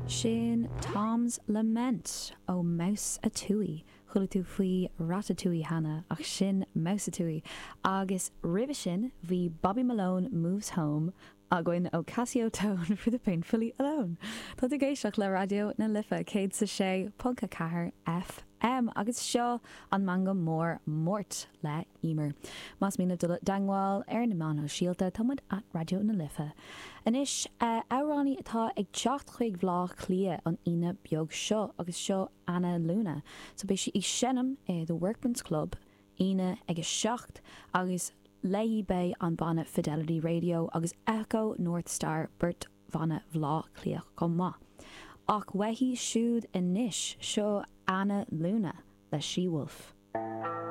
Sin Tom's Lament ó Mouseatouille. Chuala tú faoi Ratatouille cheana, ach sin Mouseatouille. Agus roimhe sin bhí Bobby Malone Moves Home againn ó Casiotone for the Painfully Alone. Tá tú ag éisteacht le Raidió na Life 106.4 FM agus seo an Meangadh Mór Máirt le Emer. Más mian libh dul i dteangmháil ar na meáin shóisialta, tá muid at Raidió na Life. Anois, amhránaí atá ag teacht chuig Bhleá Cliath an Aoine beag seo agus seo Anna Luna. So beidh sí ag seinm i The Workman's Club Aoine ag 7 agus léi beidh an banna Fidelity Radio agus Echo North Star, beirt bhanna Bhleá Cliath chomh maith. Ach uaithi siúd anois, seo Anna Luna le She Wolf.